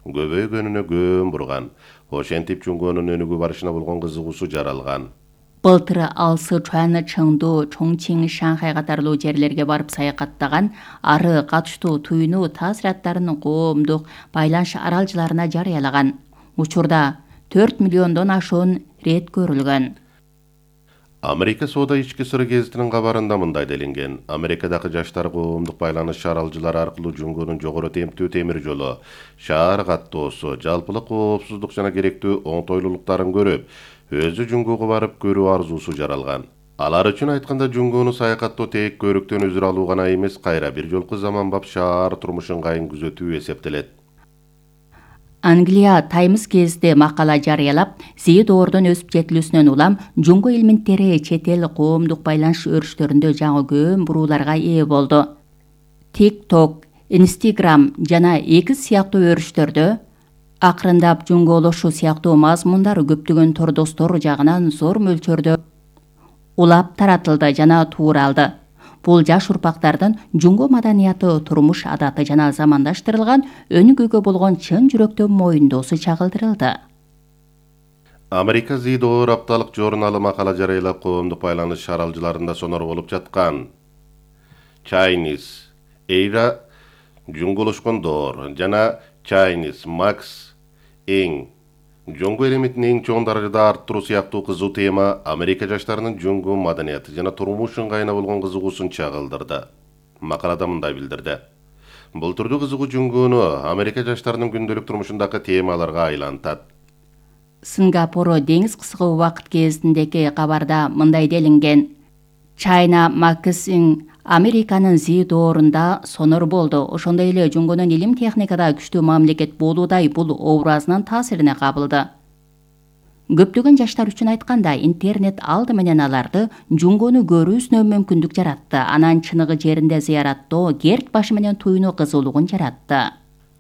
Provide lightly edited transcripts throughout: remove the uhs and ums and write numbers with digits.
көбөйгөнүнө көң бурган. Ошентип Жунгонун өнүгүү барышына болгон кызыгуусу жаралган. Былтыр ал Сычуан, Чыңду, Чоңчиң, Шанхай катарлуу жерлерге барып саякаттаган, ары катыштуу туюну таасираттарын коомдук байланыш аралжыларына жарыялаган. Учурда 4 миллиондон ашуун рет көрүлгөн. Америка соода ички сыры гезитинин кабарында мындай делинген. Америкадагы жаштар коомдук байланыш аралжылары аркылуу Жунгонун жогору темптүү темир жолу, шаар каттоосу, жалпылык коопсуздук жана керектүү оңтойлуулуктарын көрүп, өзү Жунгого барып көрүү арзуусу жаралган. Алар үчүн айтканда Жунгону саякаттоо тек көрүктөн үзүр алуу гана эмес, кайра бир жолку заманбап шаар турмуш ыңгайын күзөтүү эсептелет. Англия Times гезити макала жарыялап, Зи доордун өсүп жетилүүсүнөн улам Жунго элементтери чет эл коомдук байланыш өрүштөрүндө жаңы көң бурууларга ээ болду. TikTok, Instagram жана X сыяктуу өрүштөрдө акырындап жунголошуу сыяктуу мазмундар көптөгөн тордостор жагынан зор мөлчөрдө улап таратылды жана тууралды. Бул жаш урпактардын Жунго маданияты, турмуш адаты жана замандаштырылган өнүгүүгө болгон чын жүрөктөн моюндоосу чагылдырылды. Америка Зи доор апталык журналы макала жарыялап, коомдук байланыш аралжыларында сонор болуп жаткан Chinese Era жунголошкон доор жана Chinese Max эң Жунго элементин эң чоң даражада арттыруу сыяктуу кызуу тема Америка жаштарынын Жунго маданияты жана турмуш ыңгайына болгон кызыгуусун чагылдырды. Макалада мындай билдирди. Бул түрдүү кызыгуу Жунгону Америка жаштарынын күндөлүк турмушундагы темаларга айлантат. Сингапур деңиз кыскы убакыт гезитиндеги кабарда мындай делинген. China Magazine Американын Зи доорунда сонор болду. Ошондой эле Жунгонун илим техникада күчтүү мамлекет болуудай бул образынын таасирине кабылды. Көптөгөн жаштар үчүн айтканда, интернет алды менен аларды Жунгону көрүүсүнө мүмкүндүк жаратты. Анан чыныгы жеринде зыяраттоо, герт башы менен туюну кызуулугун жаратты.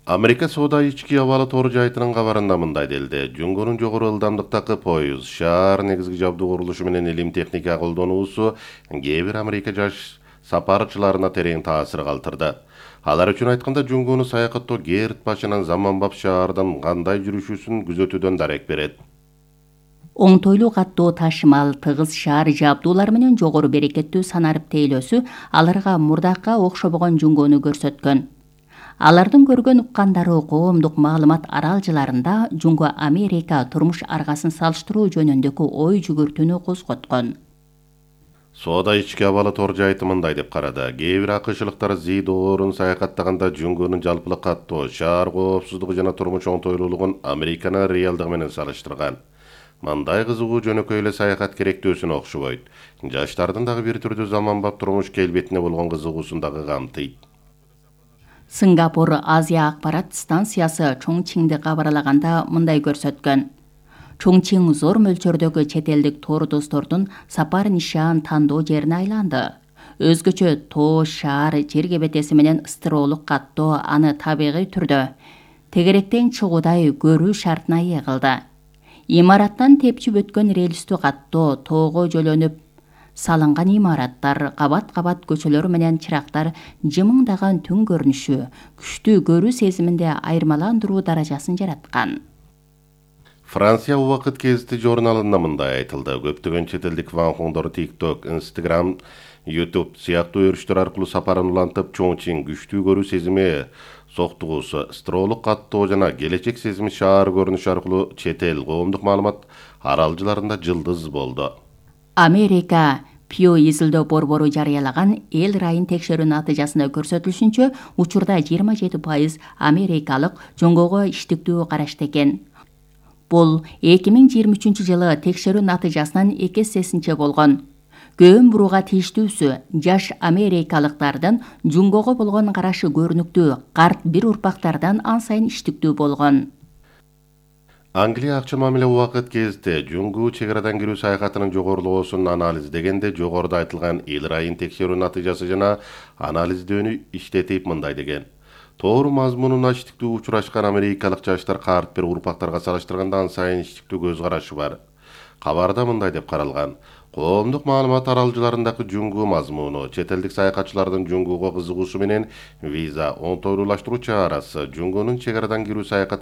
Америка соода ички абалы тор жайтынын кабарында мындай делди. Жунгонун жогору ылдамдыктагы поезд, шаар негизги жабдуу курулушу менен илим техника колдонуусу кээ бир Америка жаш сапарчыларына терең таасир калтырды. Алар үчүн айтканда, Жунгону саякаттоо герт башынан заманбап шаардан кандай жүрүшүүсүн күзөтүүдөн дарек берет. Оңтойлуу каттоо ташымал, тыгыз шаар жабдуулары менен жогору берекеттүү санарып тейлөөсү аларга мурдакка окшобогон Жунгону көрсөткөн. Алардын көргөн уккандары коомдук маалымат аралжыларында Жунго Америка турмуш аргасын салыштыруу жөнүндөгү ой жүгүртүүнү козготкон. Соода ички абалы тор жайты мындай деп карады. Кээ бир акышлыктар Зи доорун саякаттаганда Жунгонун жалпылык каттоо, шаар коопсуздугу жана турмуш оңтойлуулугун Американын реалдыгы менен салыштырган. Мындай кызыгуу жөнөкөй эле саякат керектөөсүнө окшобойт. Жаштардын дагы бир түрдүү заманбап турмуш келбетине болгон кызыгуусун дагы камтыйт. Сингапур Азия акпарат станциясы Чоңчиңди кабарлаганда мындай көрсөткөн. Чоңчиң зор мөлчөрдөгү чет элдик тор достордун сапар нишан тандоо жерине айланды. Өзгөчө тоо, шаар, жер кебетеси менен ыстыроолук каттоо аны табигый түрдө тегеректен чыгуудай көрүү шартына ээ кылды. Имараттан тепчип өткөн рельстүү каттоо, тоого жөлөнүп салынган имараттар, кабат-кабат көчөлөр менен чырактар жымыңдаган түн көрүнүшү күчтүү көрүү сезиминде айырмаландыруу даражасын жараткан. Франция убакыт гезити журналында мындай айтылды. Көптөгөн чет элдик ванхоңдор TikTok, Instagram, YouTube сыяктуу өрүштөр аркылуу сапарын улантып, Чоңчиң күчтүү көрүү сезими, соктугуусу, ыстыроолук каттоо жана келечек сезими шаар көрүнүшү аркылуу чет эл коомдук маалымат аралжыларында жылдыз болду. Америка Pew изилдөө борбору жарыялаган эл райын текшерүү натыйжасында көрсөтүлүшүнчө, учурда 27% америкалык Жунгого иштиктүү карашты экен. Бул 2023 жылы текшерүү натыйжасынан 2 эсесинче болгон. Көң бурууга тийиштүүсү жаш америкалыктардын Жунгого болгон карашы көрүнүктүү, карт бир урпактардан ан сайын иштиктүү болгон. Англия акча мамиле убакыт гезити Жунгу чегарадан кирүү саякатынын жогорулоосун анализдегенде жогоруда айтылган эл райын текшерүү натыйжасы жана анализдөөнү иштетип мындай деген. Тоор мазмунуна иштиктүү учурашкан америкалык жаштар карт бир урпактарга салыштырганда ан сайын иштиктүү көз карашы бар. Кабарда мындай деп каралган. Коомдук маалымат аралжыларындагы Жунгу мазмуну, чет элдик саякатчылардын Жунгуга кызыгуусу менен виза оңтойлуулаштыруу чарасы, Жунгунун чегарадан кирүү саякат